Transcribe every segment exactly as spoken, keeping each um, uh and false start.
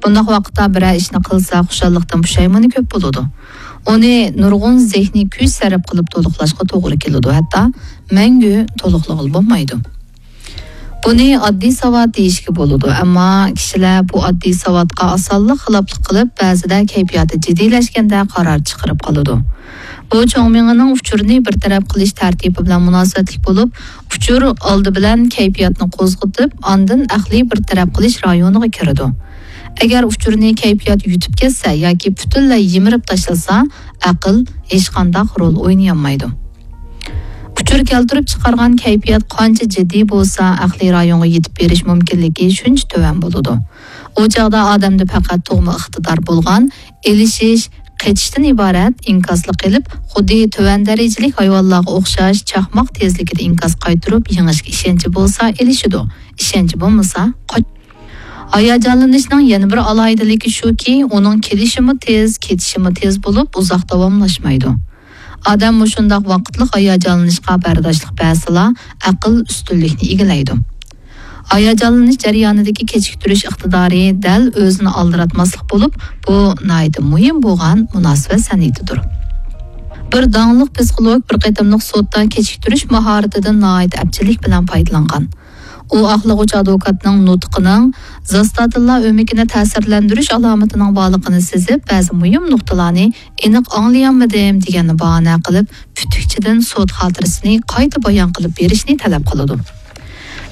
بۇنداق ۋاقىتتا بىرەر ئىشنى قىلسا، خۇشاللىقتىن پۇشايمىنى كۆپ بولىدۇ. ئۇنى نۇرغۇن زېھنىي كۈچ سەرپ قىلىپ تولۇقلاشقا توغرا كېلىدۇ، ھەتتا مەڭگۈ تولۇقلىغىلى بولمايدۇ. بۇنى ئاددىي ساۋات دېيىشكە بولىدۇ، ئەمما كىشىلەر بۇ ئاددىي ساۋاتقا ئاسانلا خىلاپلىق قىلىپ، بەزىدە كەيپىياتى جىددىيلەشكەندە قارار چىقىرىپ قالىدۇ. بۇ چوڭ مېڭىنىڭ ئۇچۇرنى بىر تەرەپ قىلىش تەرتىپى بىلەن مۇناسىۋەتلىك بولۇپ، ئۇچۇر ئالدى بىلەن كەيپىياتنى قوزغىتىپ، ئاندىن ئەقلىي بىر تەرەپ قىلىش رايونىغا كىرىدۇ. ئەگەر ئۇچۇرنى كەيپىيات يۇتۇپ كەتسە ياكى پۈتۈنلەي يىمىرىپ تاشلىسا، ئەقىل ھېچقانداق رول ئوينىيالمايدۇ. ئۇچۇر كەلتۈرۈپ چىقارغان كەيپىيات قانچە جىددىي بولسا، ئەقلىي رايونغا يېتىپ بېرىش مۇمكىنلىكى شۇنچە تۆۋەن بولىدۇ. ئۇ چاغدا ئادەمدە پەقەت تۇغما ئىقتىدار بولغان ئېلىشىش، قېچىشتىن ئىبارەت ئىنكاسلىق قىلىپ، خۇددى تۆۋەن دەرىجىلىك ھايۋانلارغا ئوخشاش چاقماق تېزلىكىدە ئىنكاس قايتۇرۇپ يېڭىشكە ئىشەنچى بولسا ئېلىشىدۇ، ئىشەنچى بولمىسا قاچ-، ھاياجانلىنىشنىڭ يەنە بىر ئالاھىدىلىكى شۇكى، ئۇنىڭ كېلىشىمۇ تېز، كېتىشىمۇ تېز بولۇپ، ئۇزاق داۋاملاشمايدۇ. ئادەم مۇشۇنداق ۋاقىتلىق ھاياجانلىنىشقا بەرداشلىق بەرسىلا، ئەقىل ئۈستۈنلۈكنى ئىگىلەيدۇ. ھاياجانلىنىش جەريانىدىكى كېچىكتۈرۈش ئىقتىدارى دەل ئۆزىنى ئالدىراتماسلىق بولۇپ، بۇ ناھايىتى مۇھىم بولغان مۇناسىۋەت سەنئىتىدۇر. بىر داڭلىق پسىخولوگ بىر قېتىملىق سوتتا كېچىكتۈرۈش ماھارىتىدىن ناھايىتى ئەپچىللىك بىلەن پايدىلانغان. ئۇ ئاقلىغۇچ ئادۋوكاتنىڭ نۇتقىنىڭ زاستادىنلا ئۆمىكىنى تەسىرلەندۈرۈش ئالامىتىنىڭ بارلىقىنى سېزىپ، بەزى مۇھىم نۇقتىلارنى ئېنىق ئاڭلىيالمىدىم دېگەننى باھانە قىلىپ، پۈتۈكچىدىن سوت خاتىرىسىنى قايتا بايان قىلىپ بېرىشنى تەلەپ قىلىدۇ.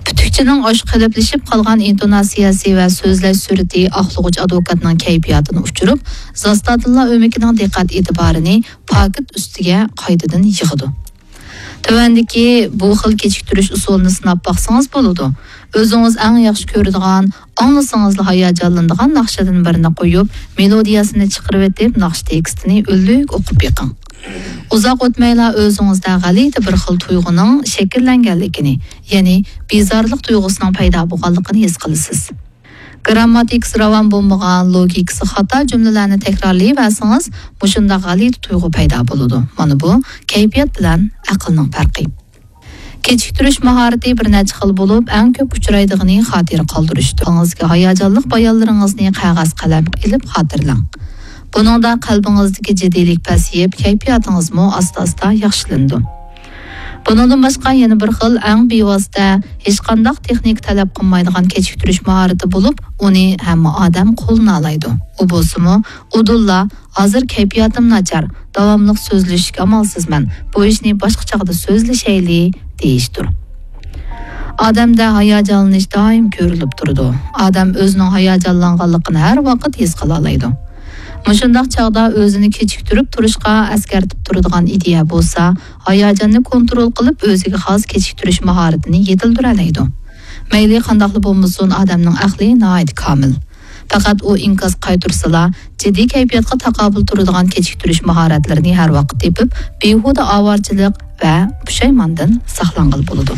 پۈتۈكچىنىڭ ئاشۇ قېلىپلىشىپ قالغان ئىنتوناتسىيەسى ۋە سۆزلەش سۈرئىتى ئاقلىغۇچ ئادۋوكاتنىڭ كەيپىياتىنى ئۇچۇرۇپ، زاستادىنلا ئۆمىكىنىڭ دىققەت ئېتىبارىنى پاكىت ئۈستىگە قايتىدىن يىغىدۇ. تۆۋەندىكى بۇ خىل كېچىكتۈرۈش ئۇسۇلىنى سىناپ باقسىڭىز بولىدۇ. ئۆزىڭىز ئەڭ ياخشى كۆرىدىغان، ئاڭلىسىڭىزلا ھاياجانلىنىدىغان ناخشىدىن بىرنى قويۇپ، مېلودىيەسىنى چىقىرىۋېتىپ، ناخشا تېكىستىنى ئۈنلۈك ئوقۇپ بېقىڭ. ئۇزاق ئۆتمەيلا ئۆزىڭىزدە غەلىتە بىر خىل تۇيغۇنىڭ شەكىللەنگەنلىكىنى، يەنى بىزارلىق تۇيغۇسىنىڭ پەيدا بولغانلىقىنى ھېس قىلىسىز. گىرامماتىكىسى راۋان بولمىغان، لوگىكىسى خاتا جۈملىلەرنى تەكرارلىيىۋەرسىڭىز، مۇشۇنداق غەلىتە تۇيغۇ پەيدا بولىدۇ. مانا بۇ كەيپىيات بىلەن ئەقىلنىڭ پەرقى. كېچىكتۈرۈش ماھارىتى بىر نەچچە خىل بولۇپ، ئەڭ كۆپ ئۇچرايدىغىنى خاتىرە قالدۇرۇشتۇر. ئۆزىڭىزگە ھاياجانلىق بايانلىرىڭىزنى قەغەز قەلەمگە ئېلىپ خاتىرىلەڭ. بۇنىڭدا قەلبىڭىزدىكى جىددىيلىك پەسىيىپ، كەيپىياتىڭىزمۇ ئاستا-ئاستا ياخشىلىنىدۇ. بۇنىڭدىن باشقا يەنە بىر خىل ئەڭ بىۋاسىتە، ھېچقانداق تېخنىكا تەلەپ قىلمايدىغان كېچىكتۈرۈش ماھارىتى بولۇپ، ئۇنى ھەممە ئادەم قوللىنالايدۇ. ئۇ بولسىمۇ، ئۇدۇللا، ھازىر كەيپىياتىم ناچار، داۋاملىق سۆزلىشىشكە ئامالسىزمەن، بۇ ئىشنى باشقا چاغدا سۆزلىشەيلى، دېيىشتۇر. ئادەمدە ھاياجانلىنىش دائىم كۆرۈلۈپ تۇرىدۇ. ئادەم ئۆزىنىڭ ھاياجانلانغانلىقىنى ھەر ۋاقىت ھېس قىلالايدۇ. مۇشۇنداق چاغدا ئۆزىنى كېچىكتۈرۈپ تۇرۇشقا ئەسكەرتىپ تۇرىدىغان ئىدىيە بولسا، ھاياجاننى كونترول قىلىپ، ئۆزىگە خاس كېچىكتۈرۈش ماھارىتىنى يېتىلدۈرەلەيدۇ. مەيلى قانداقلا بولمىسۇن، ئادەمنىڭ ئەقلى ناھايىتى كامىل. پەقەت ئۇ ئىنكاس قايتۇرسىلا، جىددىي كەيپىياتقا تاقابىل تۇرىدىغان كېچىكتۈرۈش ماھارەتلىرىنى ھەر ۋاقىت تېپىپ، بىھۇدە ئاۋارىچىلىق ۋە پۇشايماندىن ساقلانغىلى بولىدۇ.